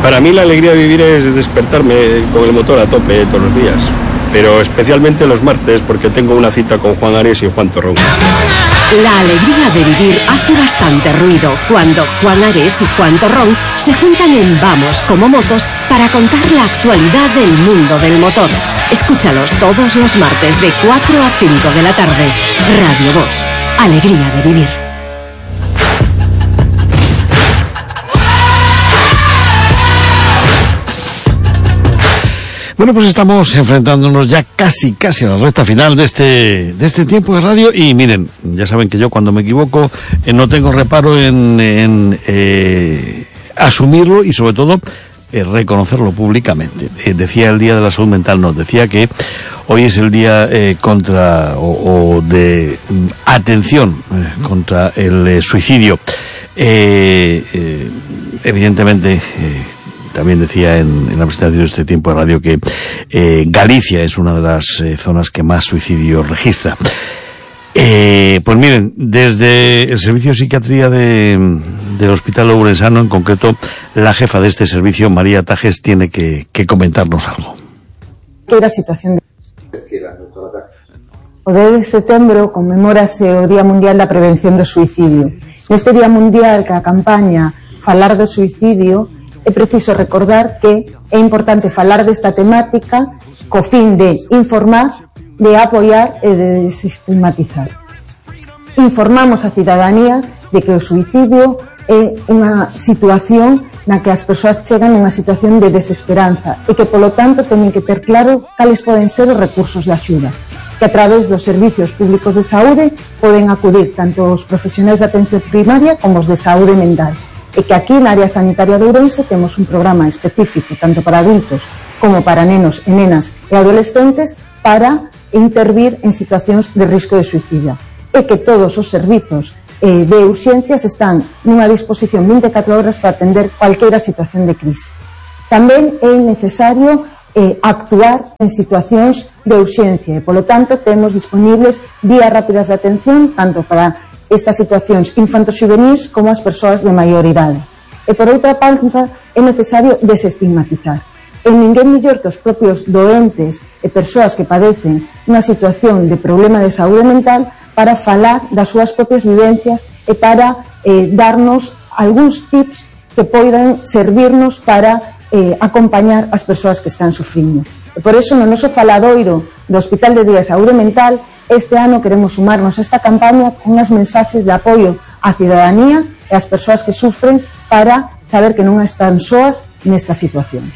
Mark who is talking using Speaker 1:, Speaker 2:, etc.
Speaker 1: Para mí la alegría de vivir es despertarme con el motor a tope todos los días, pero especialmente los martes porque tengo una cita con Juan Ares y Juan Torrón.
Speaker 2: La alegría de vivir hace bastante ruido cuando Juan Ares y Juan Torrón se juntan en Vamos como Motos para contar la actualidad del mundo del motor. Escúchalos todos los martes de 4 a 5 de la tarde. Radio Voz. Alegría de vivir.
Speaker 3: Bueno, pues estamos enfrentándonos ya casi a la recta final de este tiempo de radio y miren, ya saben que yo cuando me equivoco no tengo reparo en asumirlo y sobre todo reconocerlo públicamente. Decía el Día de la Salud Mental, no, decía que hoy es el día contra o de atención contra el suicidio. Evidentemente, también decía en la presentación de este tiempo de radio que Galicia es una de las zonas que más suicidios registra. Pues miren, desde el servicio de psiquiatría del Hospital Ourensano, en concreto, la jefa de este servicio, María Tajes, tiene que comentarnos algo.
Speaker 4: Era situación de... O 10 de setembro conmemórase o Día Mundial da Prevención do Suicidio. Neste Día Mundial que a campaña Falar do Suicidio, é preciso recordar que é importante falar desta temática co fin de informar, de apoiar e de desestigmatizar. Informamos a cidadanía de que o suicidio é unha situación na que as persoas chegan nunha situación de desesperanza e que, polo tanto, teñen que ter claro cales poden ser os recursos de axuda, que a través dos servicios públicos de saúde poden acudir tanto os profesionais de atención primaria como os de saúde mental. E que aquí na área sanitaria de Ourense temos un programa específico tanto para adultos como para nenos e nenas e adolescentes para intervir en situacións de risco de suicidio. E que todos os servizos de urxencias están nunha disposición 24 horas para atender cualquiera situación de crise. Tamén é necesario actuar en situacións de urxencia e, polo tanto, temos disponibles vías rápidas de atención tanto para estas situacións infanto-xuvenís como as persoas de maior idade. E por outra parte é necesario desestigmatizar. E ninguén mellor que os propios doentes e persoas que padecen unha situación de problema de saúde mental para falar das súas propias vivencias e para darnos algúns tips que poidan servirnos para acompañar as persoas que están sufrindo. E por iso no noso faladoiro do Hospital de Día de Saúde Mental este ano queremos sumarnos a esta campaña con unhas mensaxes de apoio á cidadanía e ás persoas que sufren para saber que non están soas nesta situación.